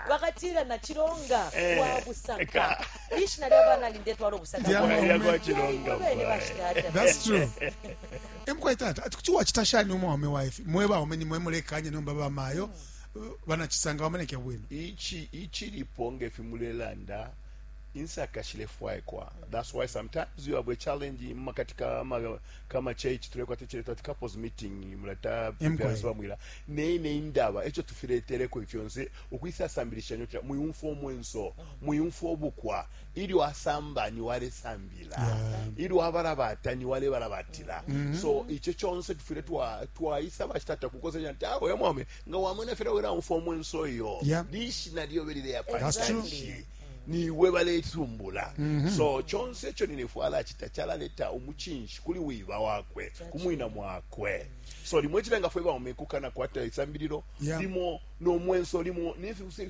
bakatira na chilonga wa busaka lishina lyabana lindetwala obusaka Lya bwawe. maume. Lya Chilonga, Bene bwae. bashitata. that's true emkwai tata ati kuti wachitashani umwe wame wife mwe baume ni mwe mulekanye nomba bamayo banachisanga bamaneke bwino ichi ichilipo ngefi mulelanda Insaka shilefwaikwa. That's why sometimes you have a challenge makati kama kama church tulekwata chileta ati couples meeting mulata Emkwai. parents bamwira nene indaba echo tufiletereko ifyonse ukwisasambilisha nyota muyumfo omwenso muyumfo obukwa ilyo asamba ni wale sambila Yeah. ilyo abalabata ni wale balabatila. So icho chonse tufile twa twaisa bachitata kukosenya nti awe mwame nga wamwena fera wera umfo omwenso iyo Yeah. lishi nalyo belile That's true. yapanshi niwe baletumbula. So chonse echo ninefwala chita chalaleta umuchinshi kuli wiba wakwe kumwina mwakwe. So limwe chilenga fwe baumekukana kwata isambililo Yeah. limo nomwenso limo nifibusa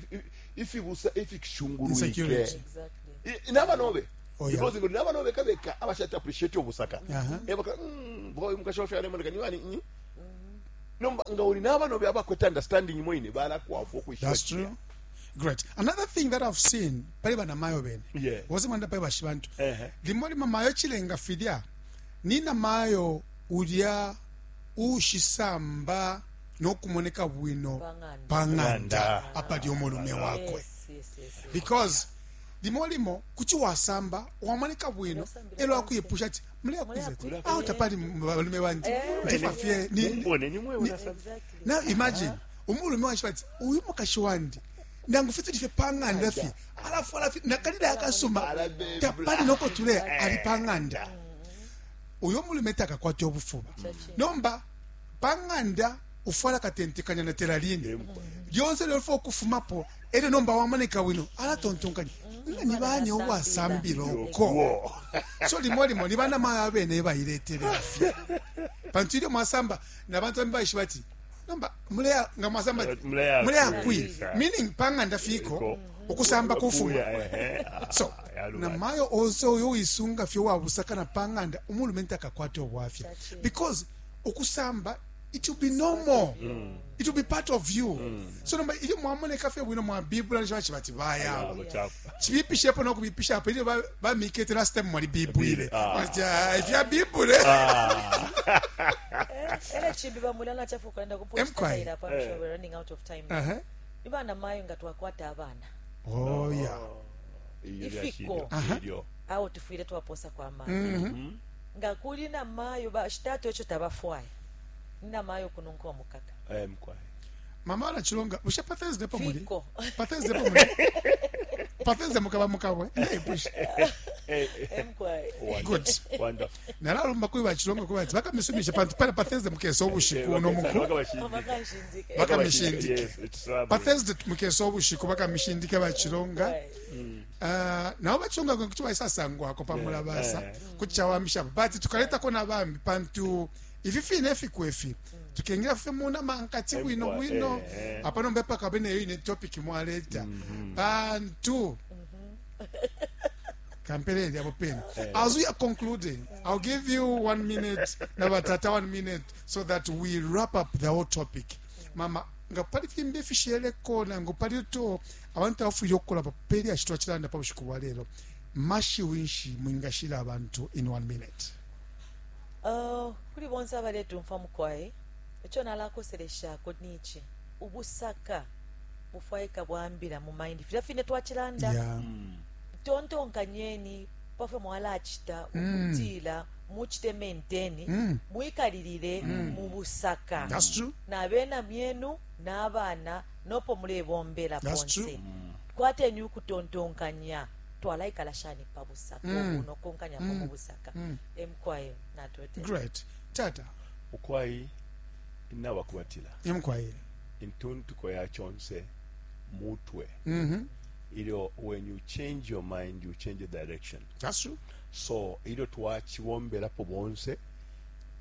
ifibusa ifikishungulwike. Insecurity. Exactly. I- nabanobe. Oh, yeah. Because ngo nabanobe kabeka abashata appreciate obusaka. Aha. Ebaka mm, boy mukasho fya lemoneka niwani mm. Nomba nga uli nabanobe abakweta understanding mwine balakwafwa okwishiba. That's true. Great. Another thing that I've seen, pali banamayo bene. Yeah. Wose mwanda pali bashibantu. Ehe. Limo lima mayo chilenga filya. Nina mayo ulya ushisamba nokumoneka bwino Pang'anda. pang'anda Ng'anda. apali omulume wakwe. Yes, yes, yes, yes. Because limo limo kuti wasamba wamoneka bwino Wasambila elo pansi. akuyipusha ati muleyakwiza ati Muleyakwiza. awo tapali balume bandi ndifa fye ni Mumbone nimwe unasamba. Exactly. Now imagine umulume wanshi bati uyu mukashi wandi nangu fye tulife pang'anda fye alafu alafi nakalila akasuma Alabebula. tapali noko tule ali pang'anda uyo mulume takakwata obufuba nomba pang'anda ufwala katentekanya na teraline lyonse lyofa okufumapo elyo nomba wamoneka bwino alatontonkanya nga ni bani obwasambila oko. Wo. So limo limo ni bana mayo abene bayiletelera fye pantu ilyo mwasamba nabantu bambi baishiba ati nomba muleya nga mwasamba ati, Muleya muleya kwi. kwi meaning pang'anda fiko Iko. okusamba kufuma. Kuya, ehe. So Ah, yaluba. namayo onse oyo wisunga fye wabusaka na pang'anda umulume ntakakwata obwafya because okusamba it will be normal, it will be part of you. So nomba ilyo mwamoneka fye bwino mwabibula nisho bati bayabo Abo chapa. chibipishepo nokubipishapo ilyo ba- bamikete last time mwalibibwile. Ah. Bati, "Ah, ifyabibule." Ele chimbi bamulana chafu kwenda Emkwai. kuposta apa. I'm sure we're running out of time. Aha. Ibana mayo nga twakwata abana. Oh yeah. Iyo Ifiko. lyashilyo, ilyo. Awo tufwile twaposa kwa mayo. Nga kuli na mayo ba shitatu echo tabafwaya. Nina mayo kununka omukaka. Eh, mkwai. Mama anachilonga bushe pa Thursday po muli Fiko. pa Thursday po muli pa Thursday mukaba mukabwe ndayipusha. Emkwai. Wonderful. Good. Wonderful. Nalalumba kuli bachilonga kuba ati bakamisumisha pantu pali pa Thursday mukesa obushiku Eh, no muku bakabashindike. Bakashindike. Bakamishindike. Yes, it's lovely. Pa Thursday mukesa obushiku bakamishindike bachilonga. Right. Ah, nabo bachilonga kuti baisasangwako pamulabasa Yeah. kuti chawamishapo but tukaletako nabambi pantu ifi fine fiku ifi tukengera fye muna mankati bwino Emkwa, bwino. eh, eh. Apa nomba pakabe neyo ine topic mwaleta pantu kampeleli apo pene. As we are concluding, I'll give you one minute nabatata one minute so that we wrap up the whole topic. Mama nga pali fimbi ifisheleko nangu pali to abantu abafwile okukola papeli ashitwa chilanda pa bushiku bwa lero mashiwi nshi mwingashila abantu in one minute? Uh, kuli bonse abaletumfa mukwai echo nalakoseleshako nichi ubusaka bufwaika bwambila mu mind filya fine twachilanda. Yeah. Tontonkanyeni pafwe mwalachita ukutila muchite maintain mwikalilile mu busaka. That's true. Nabena myenu n'abaana nopo mulebombela That's ponse true. kwateni ukutontonkanya twalaikala shani pa busaka obuno konkanyako mu busaka emukwayo natote. Great. Tata. Ukwai inabakubatila Emkwayile. intuntuko ya chonse mutwe Mhm. ilyo when you change your mind you change the direction. That's true. So ilyo twachibomberapo bonse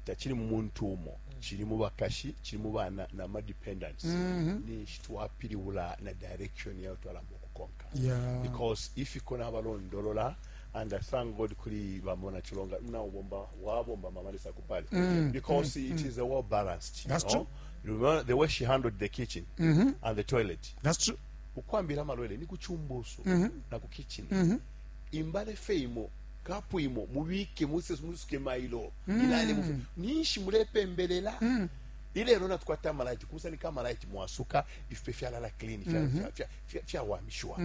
tachili mu muntu umo chili mu bakashi chili mu bana na ma dependents ninshi twapiliwula na direction yayo twalamba okukonka. Yeah. Because if ikona abalondolola and I thank God kuli bamona chilonga mna ubomba wabomba mama lisa kupali because it is a well balanced you That's know? true. Remember the way she handled the kitchen and the toilet. That's true. Ukwambira amalwele ni kuchumbuso na ku kitchen imbale feimo kapu imo mubike muse musuke mailo ilale mufe ninshi mulepembelela. Ilelo natukwata amalaiti, kusanika amalaiti mwasuka ifipe fyalala clean, fya- fya- fya- fya- fyawamishwa.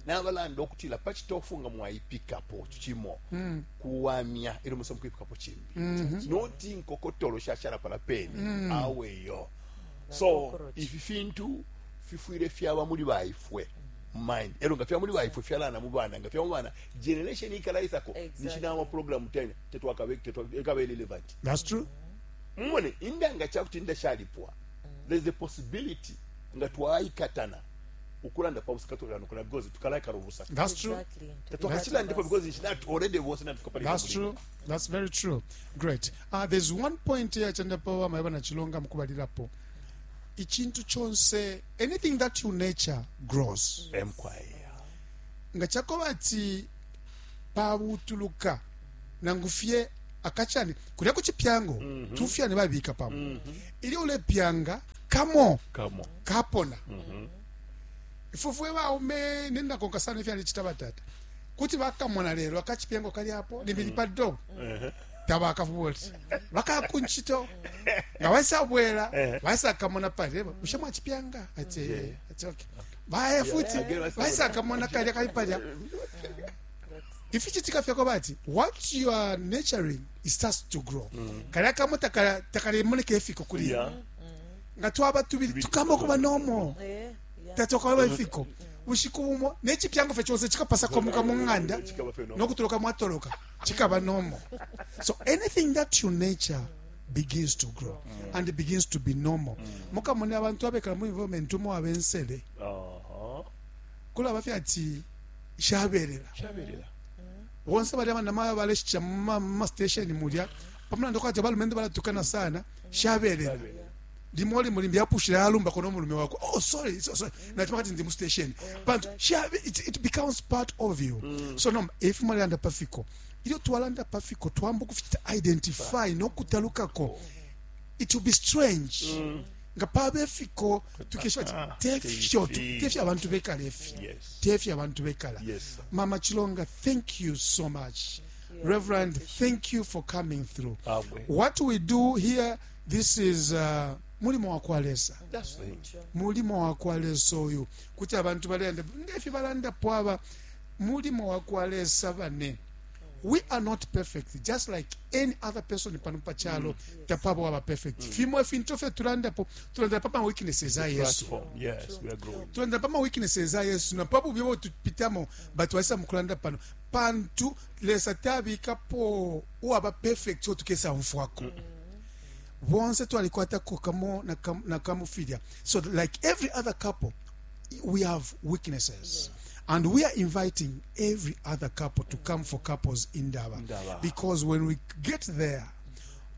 Nabalanda okutila pachitofu nga mwaipikapo chimo kuwamya ilo musa mukuipikapo chimbi, noti nkokotolo shashala pala peni aweyo. So Cockroach. ifi fintu fifwile fyaba muli baifwe mind, elo nga fyaba muli baifwe fyalana mu bana, nga fyaba mu bana generation ikalaisako. Exactly. Nishinama program tena tetwakabe tetwakabe relevant. That's true. Mumone indanga chakuti inda shalipwa, there's a possibility nga twaikatana ukulanda pa busaka tukala because tukalaikala ubusaka. That's true. Exactly. Tetwakachilandepo because nishina already bose natuka pali. That's true. That's very true. Great. Uh, there's one point here chandapo maeba na Chilonga mukubalilapo. Ichintu chonse, anything that you nature grows. Emkwaya. Nga chakoba ati pabutuluka nangu fye akachani kulya kuchipyango mm -hmm. tufyane babika pamo mm -hmm. ili ulepyanga kamo Come on. Kapona mm -hmm. Ifufwe baume nendakonka sana ifyali chita batata kuti bakamona lero akachipyango kali apo limbili pa dobo tabakafubuti bakakunchito nga baisabwela baisakamona pali ushe mwachipyanga ati ati okay baya futi baisakamona kalya kali palya. Ifichitika fyako bati what you are nurturing, it starts to grow. Kalya kamo takalemoneka efiko kuli Yeah. nga twaba tubili tukamba kuba nomo. Eh, yeah. Tatokwaba ifiko bushiku bumo nechipyango fye chonse chikapasakomuka mu ng'anda. Chikaba fye nomo. Nokutoloka mwatoloka chikaba nomo. So anything that you nature begins to grow and it begins to be normal. Mukamone abantu abekala mu environment umo abensele Uh-huh. kulaba fye ati shaberera. Shaberera. Bonse bali abanamayo baleshicha mu ma station mulya pamulandu kwati abalumendo balatukana sana shaberera limo limo limbi yapushira yalumbako n'omulume wako, "Oh, sorry, so, sorry," natima kati ndi mu station pantu shabe it, it becomes part of you. So no if mwalanda pafiko ilyo twalanda pafiko twamba kufichita identify nokutalukako, it will be strange nga pabe fiko tukesha ati tefyo tefyo abantu bekala efi. Yes. Tefyo abantu bekala. Yes, sir. Mama Chilonga, thank you so much. Reverend, thank you for coming through. Awe. What we do here, this is uh, mulimo wa kwa Lesa. That's the thing. Mulimo wa kwa Lesa uyu kuti abantu balenda ngefi balandapo aba mulimo wa kwa Lesa bane. We are not perfect, just like any other person pano pachalo tapabo aba perfect. Fimo ifintu fye tulandapo, tulanda pa ma weaknesses a Yesu. Platform. Yes, we are growing. Tulanda pa ma weaknesses a Yesu na pabu byo tupitamo, but waisa mukulanda pano pantu Lesa tabikapo uwaba perfect otukesa mfwako bonse twalikwatako kamo na kam- na kamufilya. So like every other couple, we have weaknesses and we are inviting every other couple to come for Couples Indaba. Indaba. Because when we get there,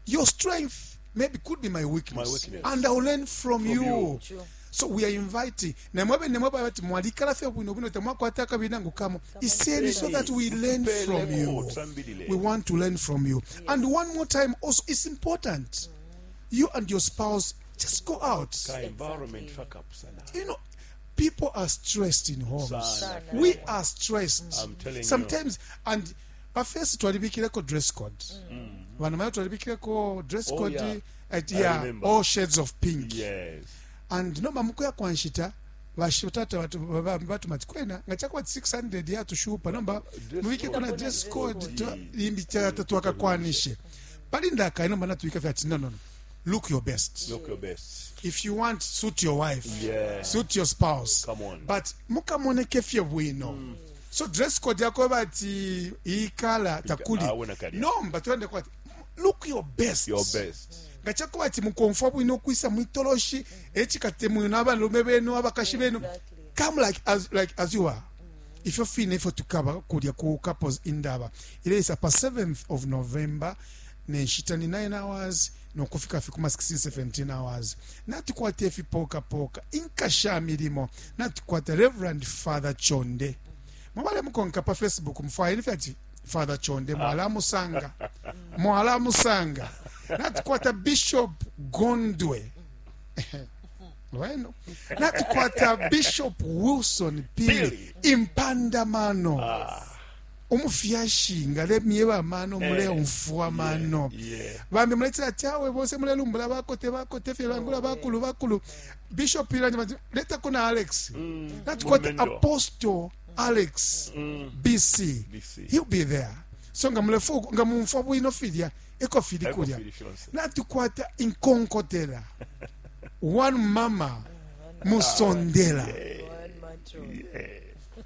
your strength maybe could be my weakness, My weakness. And I'll learn from, you. You. True. So we are inviting namwebe nemwebe bati mwalikala fye bwino bwino temwakwata akabina ngu kamo iseni so that we learn from you. Tusambilile. We want to learn from you. And one more time also, it's important you and your spouse just go out. Ka environment fuck up sana. You know, people are stressed in homes. Sana. We are stressed. I'm telling you. Sometimes and pafesi twalibikireko dress code, vana mayo twalibikireko dress Oh, code. yeah. At, I yeah, remember. all shades of pink. Yes. And nomba mukuya kwa nshita vashitata vatuma ti kwena nga chakuva six hundred yatushupa nomba Dress muvike code. kuna dress code Yes. limbi tatwakakwanishe pali ndaka inomba natuvika fyati no no no look your best. Look your best. If you want, suit your wife, Yeah. suit your spouse. Come on. But mukamoneke fye bwino. So dress code yako bati ikala takuli. Awe nakalya. Nomba tulande kwati look your best. Your best. Nga chakuba ati mukomfa bwino okwisa mwitoloshi ekikate mwino abalume benu abakashi benu. Exactly. Come like as, like as you are. Ifyo fine ifyo tukaba kulya ku Couples Indaba ileisa pa seventh of November nenshita ni nine hours nokufika fi kuma sixteen seventeen hours. Natukwata ifipokapoka inkasha milimo, natukwata Reverend Father Chonde. Mwabale mukonka pa Facebook, mufwayeni fyati Father Chonde, mwalamusanga mwalamusanga. Natukwata Bishop Gondwe lweno, natukwata Bishop Wilson Pili Impandamano. Umufyashi ngalemyeba amano, muleumfwa amano. Yeah. Bambi muletila ati awe bonse mulelumbula bakote bakote fye bangula bakulu bakulu. Bishop Irani bati letako na Alex. Natukwata Mumendo. Apostle Alex B C. B C. He'll be there. So nga mulefu nga mumfwa bwino filya eko fili Eko kulya. fili fyonse. Natukwata inkonkotela. One mama musondela. One man true.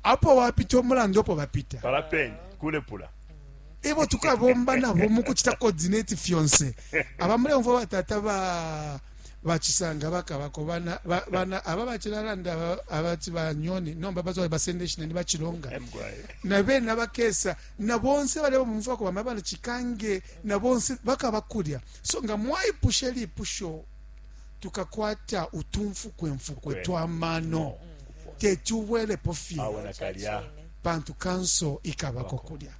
Apo wapita omulando opo bapita. Parapeni kulepula. Ibo tukabomba nabo mukuchita coordinate fyonse. Abamuleumfwa batata ba bachisanga bakabako bana ba- bana aba bachilalanda aba- abati banyoni nomba bazo basende shine bachilonga Emgwaye. na bena bakesa na bonse bale bamumfwako bama bana chikange na bonse bakabakulya. So nga mwaipusha lipusho, tukakwata utumfukwemfukwe Kwe. twamano tetubwelepo fye. Awe nakalya. Pantu kanso ikabako kulya.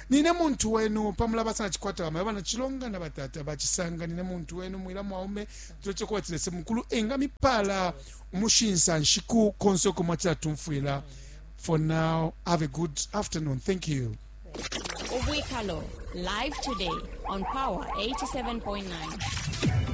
Nine muntu wenu pamula basana chikwata bama bana chilonga na batata bachisanga. Nine muntu wenu mwila mwaume tuleche kuba tilese mukulu enga mipala umushinsa nshiku konse uko mwachila tumfwila. For now, have a good afternoon. Thank you. Ubwikalo, live today on Power eighty-seven point nine.